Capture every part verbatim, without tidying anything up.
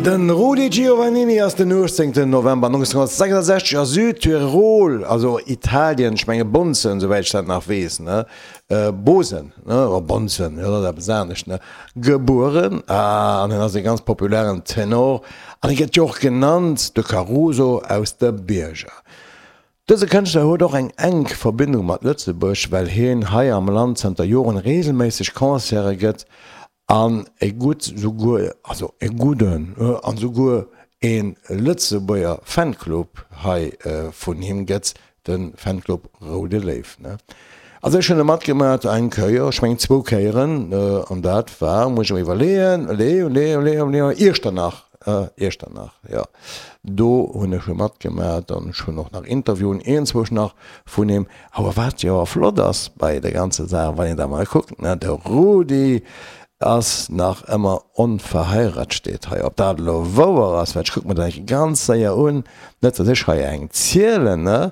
Den Rudy Giovannini ass den uechtzéngten November nonzénghunnertsechsundsechzeg a Südtirol, also Italien, ech menge Bonzen, souwäit ech dat nach weess, ne, Bosen, ne, oder Bonzen, jo, dat ass eppes anescht, ne, gebueren. An hien ass e ganz populären Tenor an e gëtt jo och genannt de Caruso aus de Bierger. Dëse Kënschtler huet och eng enk Verbindung mat Lëtzebuerg, well hien hei am Land zanter Joren reegelméisseg Concerte gëtt an e gutt souguer, also e gudden an souguer e Lëtzebuerger Fanclub hei vun him gëtt, de Fanclub Roude Léiw. Also ech hunn e matgemat eng Kéier, ech mengen zwou Kéieren, an dat war, muss ech mer iwwerleeën, Iechternach. Iechternach, jo. Do hunn ech e matgemat an ech hunn och nach Interviewen iergendzwousch nach vun him. Awer wat jo awer flott ass bei der ganzer Saach, wann een da mol kuckt, ne, de Rudi ass nach ëmmer onverheirat, steet hei. Ob dat elo wouer ass, well ech kucke mer dat eng Kéier ganz séier un, net datt ech hei eng zielen, ne.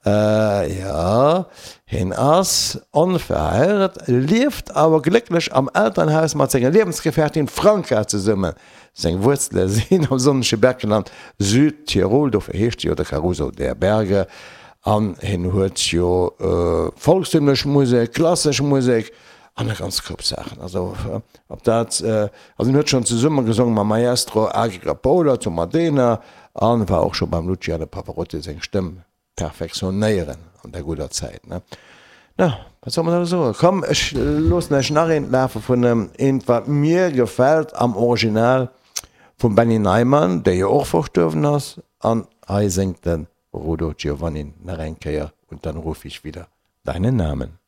Jo, hien ass onverheirat, lieft awer glécklech am Elternhaus mat senger Liewensgefährtin Franca zesummen. Seng Wuerzele sinn am sonnege Bergland Südtirol, dofir heescht e jo de Caruso der Berge. An hien huet jo volkstümlech Musek, klassesch Musek an e ganz Koup Saachen. Also ob dat, also hien huet schonn zesumme gesonge mam Maestro Agi Capola zu Modena an war och scho beim Luciano Pavarotti seng Stëmm perfektionéieren an der gudder Zäit, ne? Na, wat soll mer da soen? Komm, ech loossen iech nach eent lafe vun em, eent, wat mir gefält am Original vum Benny Neyman, dee jo och verstuerwen ass, an hei séngt de Rudo Giovannin nach eng Kéier Und dann ruf ich wieder deinen Namen.